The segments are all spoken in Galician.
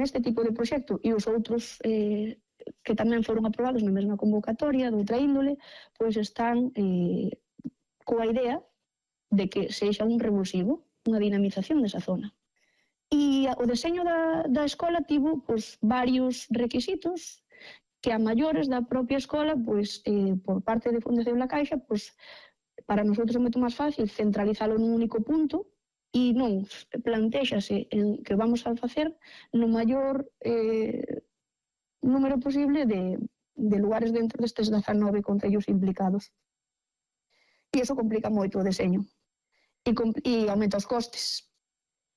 neste tipo de proxecto e os outros que tamén foron aprobados na mesma convocatoria de outra índole, pois están coa idea de que sexa un revulsivo, unha dinamización desa zona. E o deseño da escola tivo pois, varios requisitos que a maiores da propia escola, pois, por parte de Fundación La Caixa, pois, para nosotros é moito máis fácil centralizalo nun único punto e non plantéxase que vamos a facer no maior número posible de lugares dentro destes 19 concellos implicados. E iso complica moito o deseño e aumenta os costes.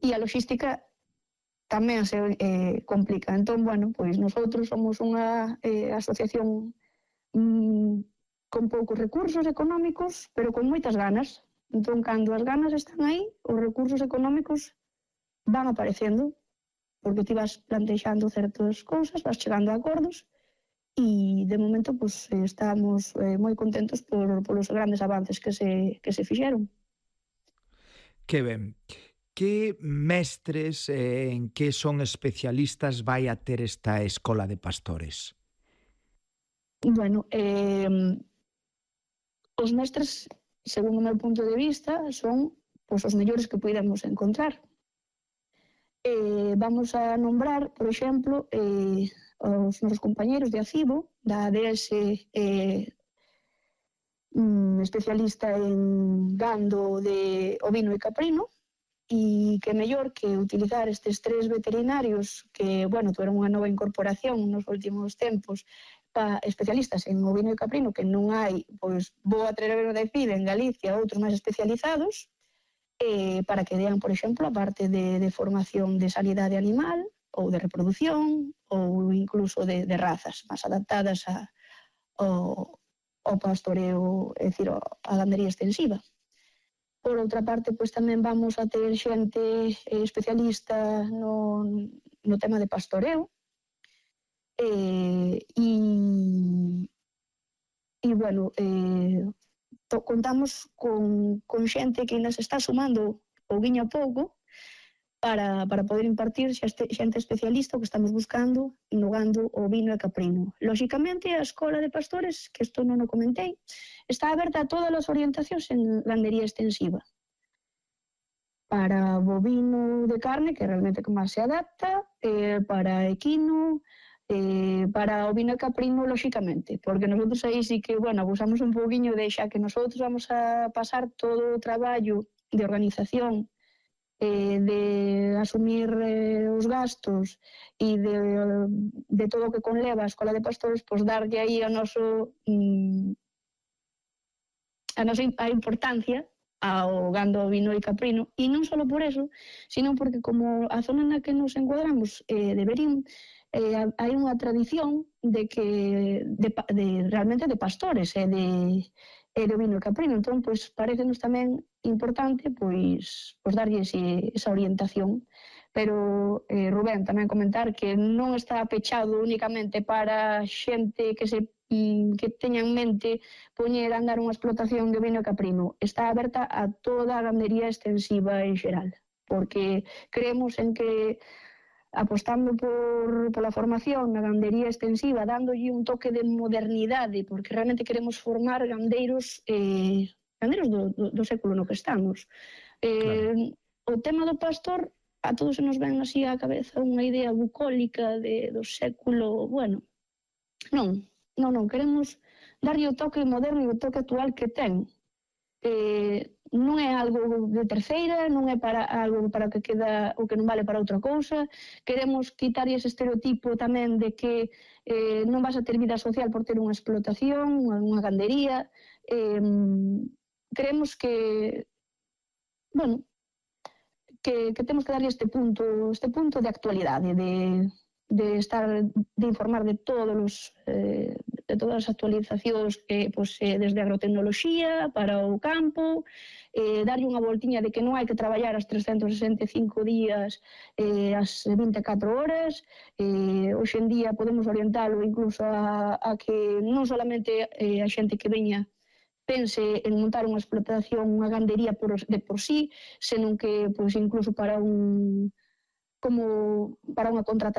E a logística tamén se complica. Entón, bueno, pois nosotros somos unha asociación con poucos recursos económicos, pero con moitas ganas. Entón, cando as ganas están aí, os recursos económicos van aparecendo, porque ti vas plantexando certas cousas, vas chegando a acordos, e de momento pues, estamos moi contentos polos grandes avances que se fixeron. Que ben. Que mestres en que son especialistas vai a ter esta escola de pastores? Bueno, os mestres, según o meu punto de vista, son pues, os mellores que podemos encontrar. Vamos a nombrar, por exemplo, os nosos compañeros de ACIBO, da ADS especialista en gando de ovino e caprino, e que mellor que utilizar estes 3 veterinarios que, bueno, tuveron unha nova incorporación nos últimos tempos, especialistas en ovino e caprino, que non hai, pois, vou atrever a decir, en Galicia, outros máis especializados, para que dean, por exemplo, a parte de formación de sanidade animal, ou de reproducción, ou incluso de razas máis adaptadas ao pastoreo, é dicir, a gandería extensiva. Por outra parte, pois tamén vamos a ter xente especialista no tema de pastoreo, e bueno, contamos con xente que nos está sumando pouquiño a pouco para poder impartir xente especialista o que estamos buscando no gando, ovino e caprino. Lóxicamente, a escola de pastores, que isto non o comentei, está aberta a todas as orientacións en gandería extensiva. Para bovino de carne, que realmente que máis se adapta, para equino, para ovino e caprino, lóxicamente, porque nosotros aí sí que, bueno, abusamos un pouquiño de xa que nosotros vamos a pasar todo o traballo de organización, de asumir os gastos e de todo o que conleva a escola de pastores, pois darlle aí a nosa importancia ao gando, ovino e caprino, e non só por eso, sino porque como a zona na que nos encuadramos de Verín, hai unha tradición realmente de pastores e de ovino e caprino. Entón, pois, parecenos tamén importante pois darlle esa orientación. Pero, Rubén, tamén comentar que non está pechado únicamente para xente que teña en mente poñer a andar unha explotación de ovino e caprino. Está aberta a toda a gandería extensiva en xeral, porque creemos en que apostando pola formación na gandería extensiva, dándolle un toque de modernidade, porque realmente queremos formar gandeiros do século no que estamos. O tema do pastor, a todos se nos ven así á cabeza unha idea bucólica do século, bueno, non, queremos darlle o toque moderno e o toque actual que ten. Non é algo de terceira, non é para algo para que queda o que non vale para outra cousa. Queremos quitar ese estereotipo tamén de que non vas a ter vida social por ter unha explotación, unha gandería. Creemos que, bueno, que temos que darlle este punto de actualidade, de informar de todas as actualizacións que desde a agrotecnoloxía para o campo, darlle unha voltiña de que non hai que traballar as 365 días as 24 horas. Hoxe en día podemos orientalo incluso a que non solamente a xente que veña pense en montar unha explotación, unha gandería de por sí, senón que incluso para unha contratación